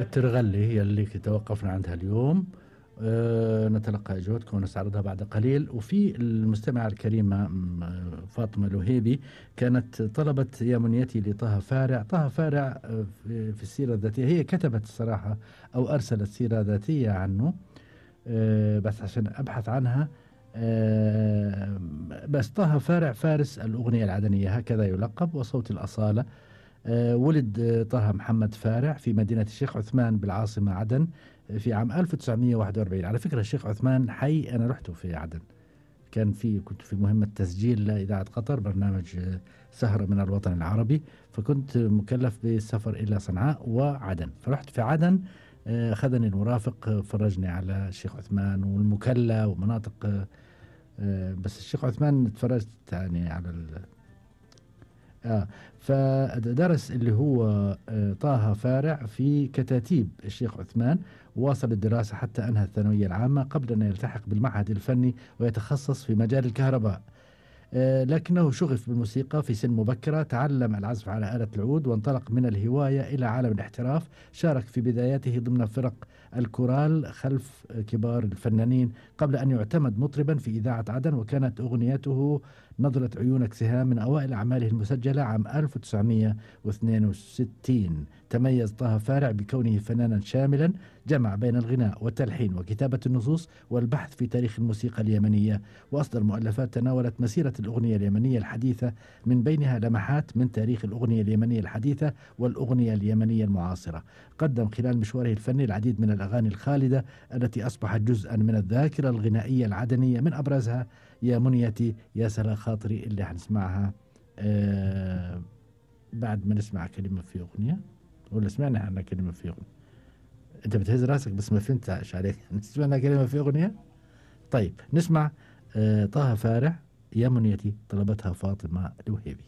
ترغلي هي اللي توقفنا عندها اليوم. نتلقى أجوبتكم ونستعرضها بعد قليل. وفي المستمعة الكريمة فاطمة الوهيبي كانت طلبت يا منيتي لطه فارع. طه فارع في السيرة الذاتية هي كتبت الصراحة أو أرسلت سيرة ذاتية عنه، بس عشان أبحث عنها. بس طه فارع فارس الأغنية العدنية هكذا يلقب، وصوت الأصالة. ولد طه محمد فارع في مدينة الشيخ عثمان بالعاصمة عدن في عام 1941. على فكرة الشيخ عثمان حي أنا رحته في عدن، كنت في مهمة تسجيل لإذاعة قطر برنامج سهرة من الوطن العربي، فكنت مكلف بالسفر إلى صنعاء وعدن، فرحت في عدن. أخذني المرافق فرجني على الشيخ عثمان والمكلا ومناطق. بس الشيخ عثمان تفرجت يعني على فدرس اللي هو طه فارع في كتاتيب الشيخ عثمان، واصل الدراسة حتى أنهى الثانوية العامة قبل أن يلتحق بالمعهد الفني ويتخصص في مجال الكهرباء. لكنه شغف بالموسيقى في سن مبكرة، تعلم العزف على آلة العود وانطلق من الهواية إلى عالم الاحتراف. شارك في بداياته ضمن فرق الكورال خلف كبار الفنانين قبل أن يعتمد مطربا في إذاعة عدن، وكانت أغنيته نظرة عيونك سهام من أوائل أعماله المسجلة عام 1962. تميز طه فارع بكونه فنانا شاملا جمع بين الغناء والتلحين وكتابة النصوص والبحث في تاريخ الموسيقى اليمنية، وأصدر مؤلفات تناولت مسيرة الأغنية اليمنية الحديثة، من بينها لمحات من تاريخ الأغنية اليمنية الحديثة والأغنية اليمنية المعاصرة. قدم خلال مشواره الفني العديد من الأغاني الخالدة التي أصبحت جزءا من الذاكرة الغنائية العدنية، من أبرزها يا منيتي، يا سلا خاطري اللي حنسمعها بعد ما نسمع كلمة في أغنية، ولا سمعنا عنها كلمة في أغنية. أنت بتهز راسك بس ما فهمت ايش عليك. سمعنا كلمة في أغنية. طيب نسمع طه فارع يا منيتي، طلبتها فاطمة الوهيبي.